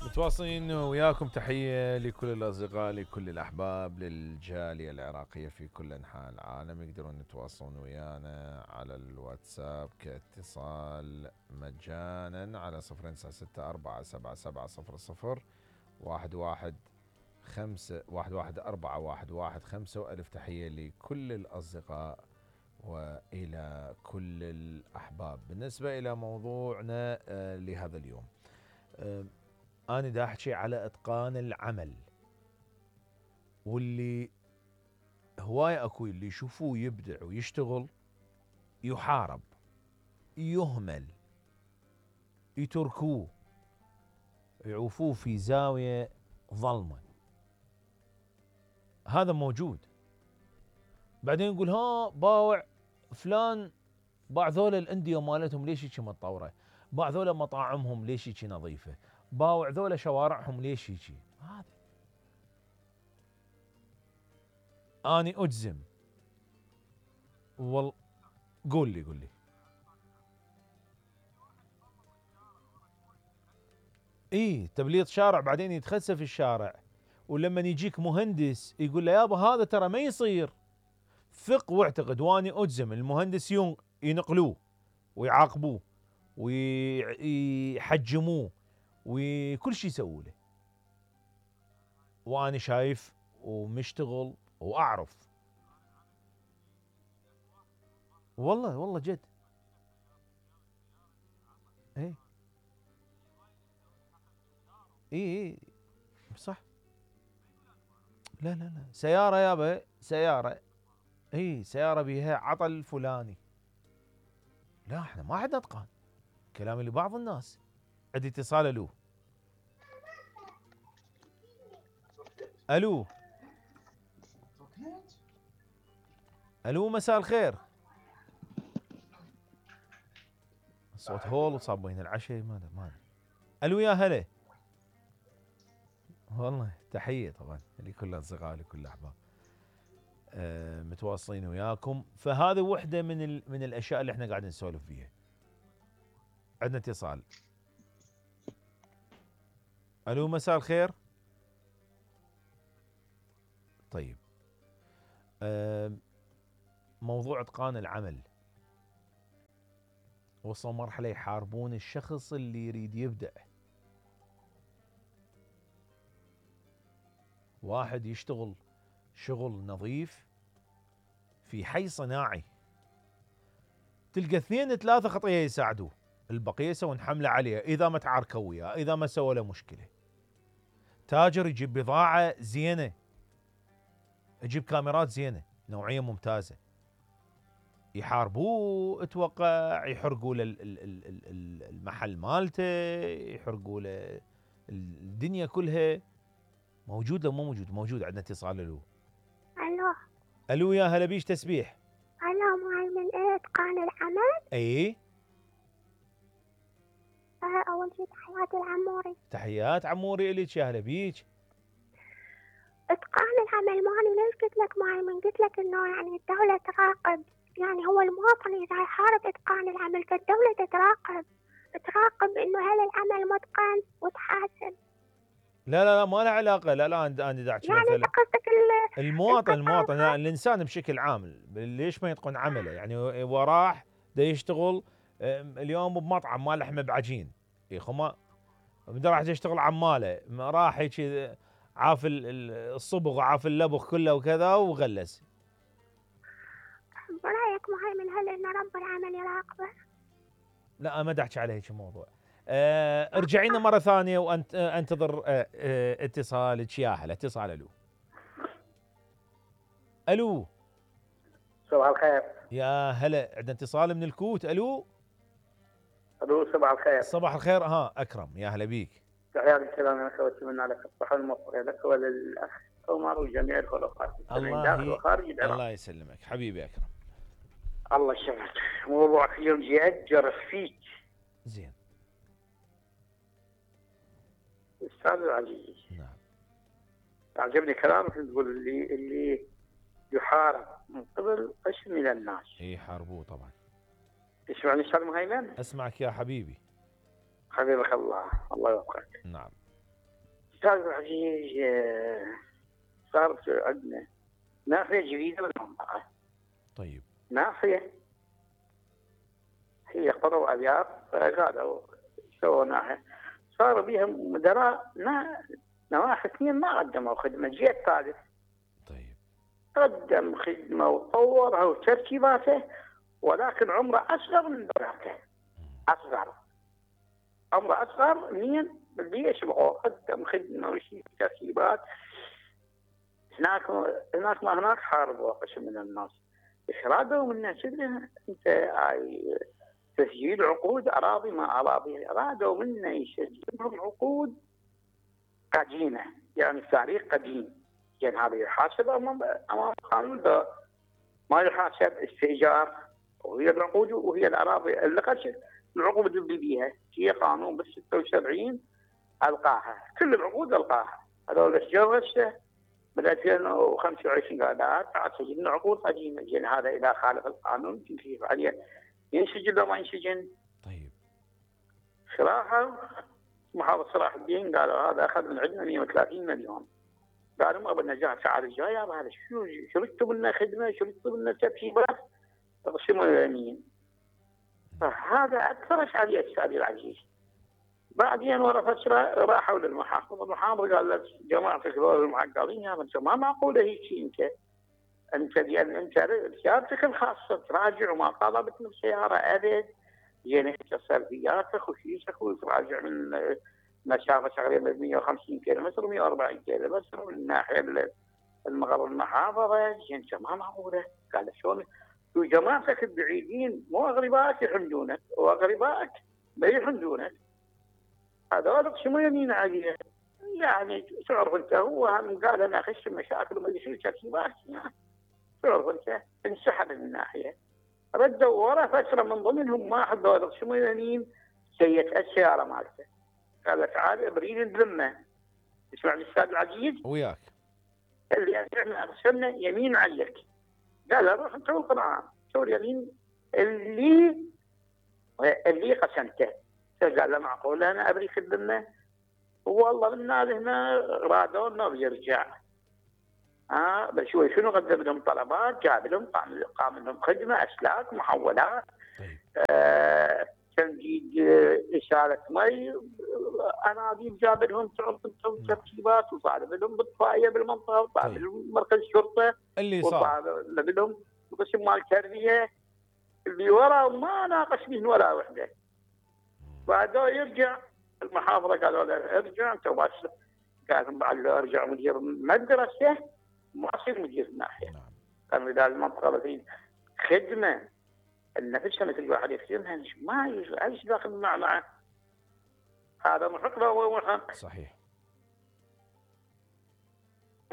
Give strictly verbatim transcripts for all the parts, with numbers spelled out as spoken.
متواصلين وياكم. تحية لكل الأصدقاء، لكل الأحباب، للجالية العراقية في كل أنحاء العالم. يقدرون يتواصلون ويانا على الواتساب كاتصال مجانا على صفر تسعة ستة أربعة سبعة سبعة صفر صفر واحد واحد خمسة واحد واحد أربعة واحد واحد خمسة. وألف تحية لكل الأصدقاء وإلى كل الأحباب. بالنسبة إلى موضوعنا لهذا اليوم، أنا دا أحكي على إتقان العمل، واللي هواية أكو اللي يشوفوه يبدع ويشتغل يحارب، يهمل، يتركوه، يعوفوه في زاوية ظلمة. هذا موجود. بعدين يقول ها باوع فلان باع ذولا الأندية مالتهم ليش هيك متطورة، باع ذولا مطاعمهم ليش هيك نظيفة، باوع ذولا شوارعهم ليش هيك. هذا أني أجزم. وال قول لي قول لي إيه تبليط شارع، بعدين يتخسف الشارع، ولما يجيك مهندس يقول له يابا هذا ترى ما يصير. ثق واعتقد واني أجزم المهندس يوم ينقلوه ويعاقبوه ويحجموه وكل شيء يسووا له. وأنا شايف ومشتغل وأعرف. والله والله جد. ايه ايه ايه صح. لا لا لا سيارة يابا سيارة، ايه سيارة بيها عطل فلاني. لا احنا ما عندنا اتقان. كلامي لبعض الناس. عندي اتصال. الو الو الو مساء الخير. الصوت هول وصابين العشاء ما ما الو يا هلا. والله تحية طبعا لكل الاصدقاء لكل الاحباب. أه متواصلين وياكم. فهذه وحدة من ال... من الاشياء اللي احنا قاعدين نسولف فيها. عندنا اتصال. الو مساء الخير. طيب أه موضوع اتقان العمل. وصلوا مرحلة يحاربون الشخص اللي يريد يبدع. واحد يشتغل شغل نظيف في حي صناعي، تلقى اثنين ثلاثة خطية يساعدوه، البقية يسوون حملة عليه إذا ما تعاركوا وياه، إذا ما سوى له مشكلة. تاجر يجيب بضاعة زينة، يجيب كاميرات زينة نوعية ممتازة، يحاربوه اتوقع، يحرقوا له المحل مالته، يحرقوا له الدنيا كلها. موجود لو مو موجود؟ موجود. عندنا اتصال. الو الو الو يا هلا بيش تسبيح. الو معي من ايه اتقان العمل. اي آه اول شيء تحياتي العموري. تحيات عموري الك يا هلا بيك. اتقان العمل ماني ليش قلت لك معي من قلت لك انه يعني الدولة تراقب، يعني هو المواطن اذا يحارب اتقان العمل فالدولة تتراقب، تراقب انه هل العمل متقن وتحاسب. لا لا لا ما له علاقه. لا لا انا دا احكي يعني مثلا انت قصدك المواطن المواطن لا الانسان بشكل عام ليش ما يتقن عمله؟ يعني وراح دا يشتغل اليوم بمطعم مال لحمه بعجين يا خما، بده راح يشتغل عماله، راح هيك عاف الصبغ وعاف اللبخ كله وكذا وغلس. برايك معي من هل ان رب العمل يراقبه؟ لا ما دا احكي على هيك موضوع. أه ارجعي لنا مره ثانيه وانت انتظر أه أه اتصالك يا هلا. اتصال. الو الو صباح الخير. يا هلا. عندنا اتصال من الكوت. الو الو صباح الخير. صباح الخير. ها اكرم يا هلا بيك. تحياتي السلام انا اتمنى لك الصحه والموفقيه لك وللاخ عمر وجميع الخلقات الله وخارج العراق. الله يسلمك حبيبي اكرم. الله يسلمك. موضوعك اليوم جد جرف فيك. زين استاذ العزيز. نعم عجبني كلامك تقول اللي اللي يحارب من قبل قسم من الناس. اي حاربوه طبعا. تسمعني استاذ مهيمن؟ اسمعك يا حبيبي. حبيبك الله الله يوفقك. نعم أستاذ العزيز، آه، صارت عندنا نافية جديدة بالمنطقة. طيب. نافية هي قروا أبيار قالوا سووا ناحية، صار بيها مدراء نواحي اثنين ما قدموا خدمة، جيل الثالث طيب. قدم خدمة وطورها وتركيباته، ولكن عمره أصغر من بناته، أصغر عمره أصغر من اللي يشبهه، قدم خدمة وشيء تركيبات. هناك هناك ما هناك حاربوا قسم من الناس، ايش رادوا منا كذا؟ انت هاي تسجيل عقود اراضي ما اراضي، رادوا منا يسجلون عقود قديمه، يعني تاريخ قديم، يعني هذا يحاسب امام امام القانون، ما يحاسب استئجار، وهي العقود وهي الاراضي اللي قد العقود اللي بيها هي قانون بال ستة وسبعين القاها، كل العقود القاها. هذول الشجر هسه بال ألفين وخمسة وعشرين قاعد سجلنا عقود قديمه، يعني هذا اذا خالف القانون كيف عليه ينسجن لو ما ينسجن؟ طيب. صراحه محافظ صلاح الدين قالوا هذا اخذ من عندنا مئة وثلاثين مليون، قالوا ما بدنا جاه الساعه الجايه، هذا شو شرطوا لنا خدمه، شرطوا لنا ترتيبات، اقسموا اليمين. فهذا اكثر اشعاليه استاذ العزيز. بعدين ورا فتره راحوا للمحافظ، المحافظ قال لك جماعتك هذول المعقلين، يا انت ما معقوله هيك انت انت لان انت سيارتك الخاصه تراجع وما طلبت من سياره ابد، يعني انت سلبياتك وشيشك وتراجع من مسافه تقريبا مئة وخمسين كيلو متر مئة وأربعين كيلو متر من الناحيه المغرب المحافظه، انت ما معقوله. قال شلون وجماعتك البعيدين مو اغربائك يحمدونك، واغربائك ما يحمدونك، هذول شو يمين عليه؟ يعني تعرف انت هو هم قال انا اخش مشاكل وما يصير ترتيبات، تعرف انت انسحب من الناحيه، ردوا ورا فتره من ضمنهم واحد هذول شو يمين سيئت السياره مالته، قال تعال بريد الذمه، تسمعني الاستاذ العزيز؟ وياك. اللي احنا ارسلنا يمين عليك، قال روح انت والقران شو اليمين اللي اللي قسمته، قال له معقول انا ابريك الذمه؟ والله الناس هنا رادوا انه بيرجع، ها آه بشوي شنو قدم لهم طلبات، جاب لهم قام لهم خدمه اسلاك محولات، طيب. آه تمديد آه اشاره مي، انابيب جاب لهم ترتيبات، وطالب لهم بالطفايه بالمنطقه، وطالب طيب. لهم مركز شرطه اللي صار، وطالب لهم قسم مال تربيه، اللي ورا ما ناقش به ولا وحده. بعده يرجع المحافظه قالوا له ارجع انت بس، قال بعد له ارجع مدير مدرسه ما اصير مدير الناحيه. نعم. كانوا اذا المنطقه في خدمه نفسها مثل واحد يخدمها ما ايش داخل مع معه، هذا محق له محق. صحيح.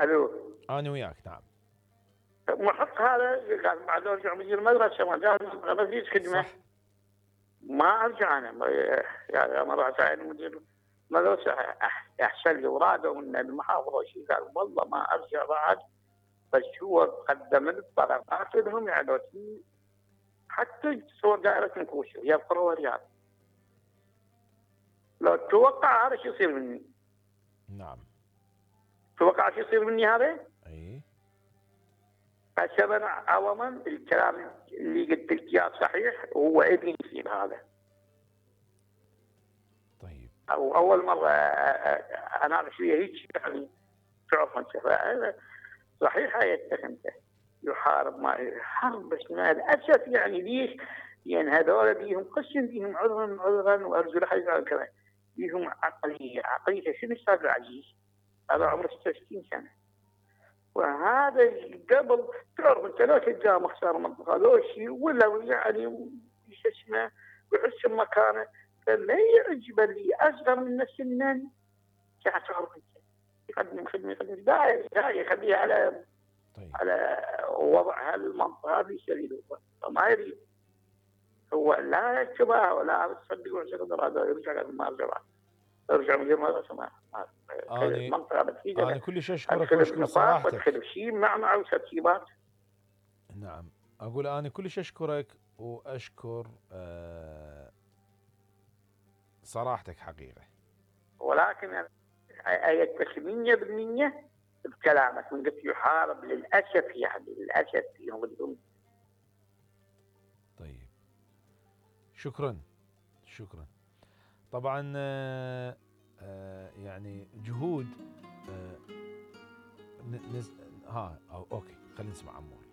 الو انا وياك. نعم. محق هذا، قال بعد ارجع مدير مدرسه ما قال ما فيش خدمه. صح. ما ارجع انا يعني ما راح اعين مدير مدرسه احسن لي، ورادوا من المحافظه شيء، قال والله ما ارجع بعد، بس هو قدم الطلبات لهم يعني حتى تصور دائره نكوشه هي القرى والرياض، لو توقع هذا شو يصير مني؟ نعم. توقع شو يصير مني هذا؟ اي. فسبب عوضا الكلام اللي قلت لك اياه صحيح، وهو ابني يصير هذا. طيب. او اول مره اناقش فيها هيك يعني، تعرف انت صحيح هاي اتهمته يحارب ما حرب، بس مع الاسف يعني ليش؟ يعني هذول بيهم قسم بيهم عذرا عذرا وارجو حاجه كذا، بيهم عقليه عقليه شنو استاذ العزيز؟ هذا عمره ستة وستين سنه، وهذا قبل تعرف انت لو تلقاه مختار منطقه لو شيء ولا يعني شو اسمه ويحس بمكانه، فما يعجبه اللي اصغر من سنا، تعرف انت يقدم خدمه يقدم داعي داعي يخليه على طيب. على وضع هالمنطقه في سبيل الله، ما يريد هو لا يكتبها ولا تصدق ولا هذا يرجع ما يرجع يرجع من غير ما يسمع المنطقه بتفيده. انا كلش اشكرك واشكر صراحتك. ادخل شيء مع مع وترتيبات. نعم. اقول انا كلش اشكرك واشكر أه صراحتك حقيقه. ولكن أيدتك مية بالمية بكلامك من قلت يحارب للأسف، يعني للأسف يوم الدنيا. طيب شكرا شكرا. طبعا آه آه يعني جهود آه نز... ها أو اوكي خلينا نسمع عمور.